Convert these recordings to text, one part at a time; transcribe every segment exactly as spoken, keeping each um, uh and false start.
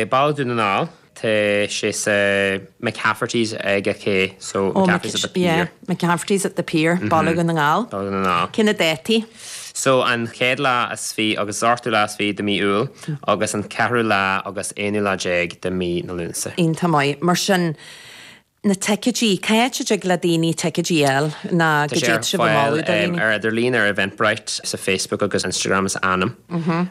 Baile Dhún na nGall Tá sé sa McCafferty's ag a cé so Oh, McCafferty's at the pier. Yeah, McCafferty's at the pier, Baile Dhún na nGall. Baile Dhún na nGall. Cé na dátaí? So an chéad lá is fiche agus ochtú lá is fiche de mí Iúil agus an ceathrú lá agus aonú lá déag de mí na Lúnasa. Iontach maith. Mar sin na ticéidí, cá háit a dtig le daoine ticéidí a fháil ná Tá go sé ar dtéid sibh a fáil mholadh do um, dhaoine? ar idirlíon ar Eventbrite sa Facebook agus Instagram is Anam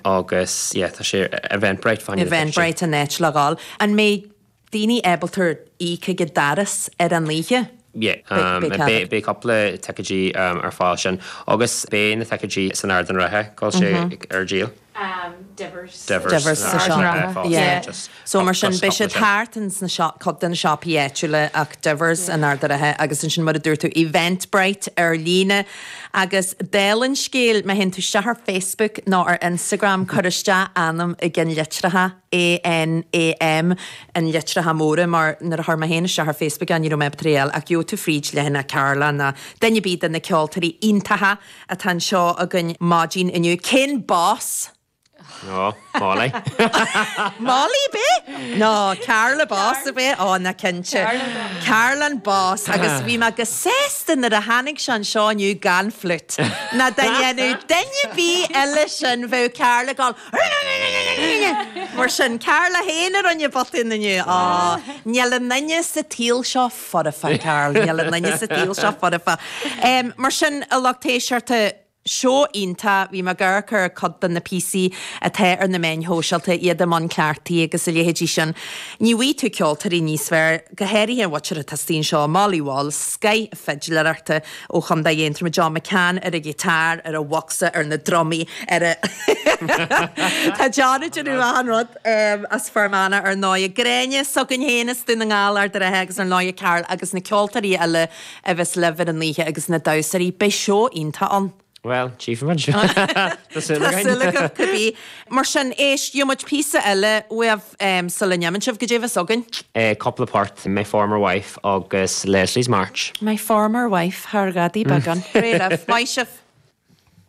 agus yeah, tá sé Eventbrite fá Eventbrite an áit le dhul. An mbeidh daoine ábalta íoc ag an doras ar an oíche? Yeah, um, beidh cead. Beidh cúpla ticéidí um, ar fáil sin agus beidh na ticéidí san Ard an Rátha call sé ar díol. Um, Divers. Divers Divers sa uh, shop. uh, Yeah. just So mar sin just beidh siad cúpla sin. thart in sna shop cuid de na siopaí áitiúla ach Divers in Ard an Rátha agus ansin mar a dúirt tú Eventbrite ar líne agus dála an scéil má théann tú isteach ar Facebook nó ar Instagram cuir isteach Anam i gceannlitreacha A-N-A-M an litreacha móra mar nuair a chuir mé féin isteach ar Facebook an ní mé tréal ach gheobhaidh tú fríd le Carla ná duine ar bith de na ceoltóirí iontacha atá anseo againn maidin inniu. Cén boss? No, Molly. Molly be? No, Carla boss a bit ó na cinnte. Carla boss agus bhí mé go sásta nuair a tháinig sé anseo inniu gan flute. Na duine duine bí eile sin bheadh Carla gal. Mar sin Carla féin ar an botún inniu á Níl aon duine sa tsaol seo foirfe Carl, Níl aon duine sa tsaol seo foirfe. Um, mar sin a lucht éisteachta Seó iontach bhí mé ag amharc ar cuid de na píosaí atá ar na meáin shóisialta iad i mbun cleachtaidh agus a leithéidí sin. Ní bhfaighidh tú ceoltóirí níos fearr go háirithe bhuitir atá anseo Molly Wall, scoth fidléireachta ó Chontae Aontroma John McCann ar a ghiotár ar a bhocsa ar na drumaí ar a Tá John déanamh an rud um, as Fear Manach ar ndóigh Gráinne s'againn féin as Dún na nGall Ard an Rátha agus ar ndóigh Carl agus na ceoltóirí eile a bheas libh ar an oíche agus na damhsóirí beidh seó iontach ann. Well, tchífimid. Tá súil againn. cibé. Mar sin éist muid píosa eile uaibh um, sula n-imíonn sibh goidé a bheas againn. Eh, cúpla port, My Former Wife agus Leslie's March. My former wife thar gadaí beagán. Réamh, maith sibh.